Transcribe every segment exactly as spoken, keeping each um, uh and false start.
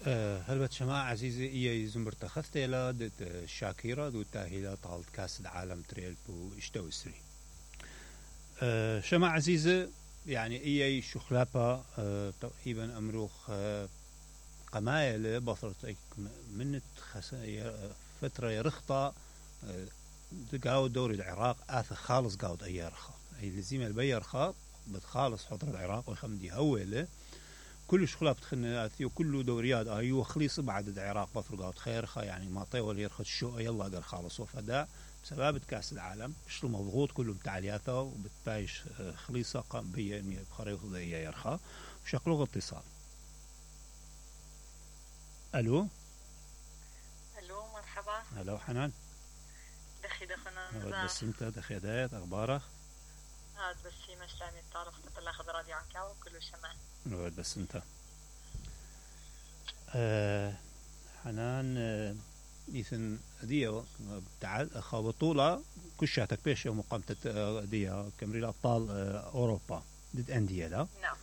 أه هلبت شماعة عزيزي إيا يزمر تخثيلا دت شاكيرا دو تاهيلا طالت كاس العالم تريل بو اشتو سري. أه شماعة عزيزة يعني إيا شخلابا أه تقريبا أمروخ أه قمايل بطرت من فترة يرخطة أه قاود دوري العراق آث خالص قاود أيارخا أي لزيمة البيرخا بتخالص حضر العراق ويخمدي هوله كل شغلات بتخلنا آثي وكل دوريات أيوة خليص بعد العراق بفرقات خيرخا يعني ما طيول يرخد الشو يلا قال خالص وفداء بسبب كأس العالم مش مضغوط كله بتعلياته وبتبايش خليصة قام بيا إني بخريط ذي يرخا وشكله اتصال. ألو ألو مرحبا. ألو حنان. دخي دخنا. بس أنت دخي دايت أخبارك؟ هاد بس في مسلمي الطارق تطلع خض راديو عكاو كله شمال. نود بس أنت. أه حنان أه إذن ديو تعال خابطولة كشاتك بيش يوم قمت ديو كمريل أبطال أوروبا ضد أندية لا. نعم.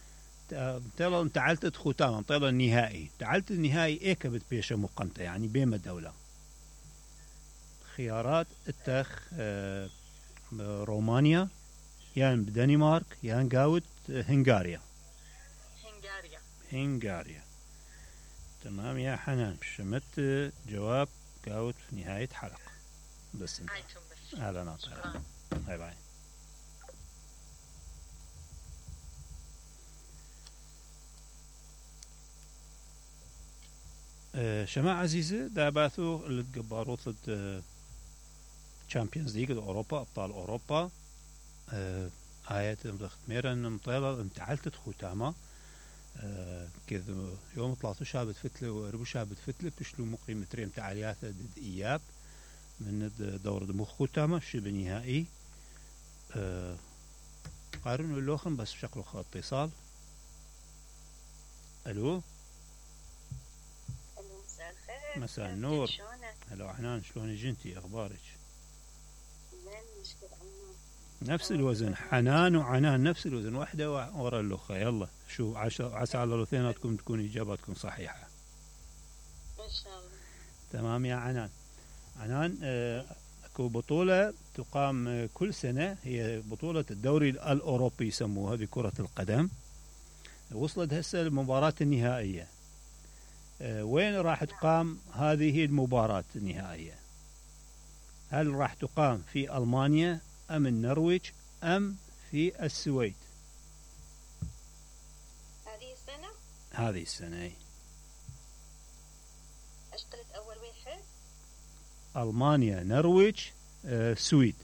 تلا أنت تعلت ختام تلا النهائي تعلت النهائي إيه كبت بيش يوم قمت يعني بين الدولة. خيارات التخ أه رومانيا يعني بدنمارك يعني قاود هنغاريا. هنغاريا. هنغاريا. تمام يا حنان شمت جواب قاود في نهاية حلقة بس انت اهلا ناطر باي باي. أه شماعة عزيزة داباثو اللي تقباروت لد تشامبيونز ليج اوروبا ابطال اوروبا أه آيات مدخت ميرن مطيلة انتعلت ختامة أه كذا يوم طلعتوا شابت فتلة وربو شابت فتلة بشلو مقيم تريم تعالياته ضد إياب من دور دموخ ختامة شبه نهائي أه قارنوا اللوخن بس بشكل اتصال. ألو مساء الخير. مساء النور. هلا حنان شلونك انتي اخبارك؟ نفس الوزن حنان وعنان نفس الوزن واحدة ورا الأخرى يلا شو عسى على الاثنيناتكم تكون إجاباتكم صحيحة إن شاء الله. تمام يا عنان. عنان اكو بطولة تقام كل سنة هي بطولة الدوري الأوروبي يسموها بكرة القدم وصلت هسه المباراة النهائية. وين راح تقام هذه المباراة النهائية؟ هل راح تقام في ألمانيا أم النرويج أم في السويد؟ هذه السنة؟ هذه السنة. اشتريت أول واحد. ألمانيا نرويج آه، سويد.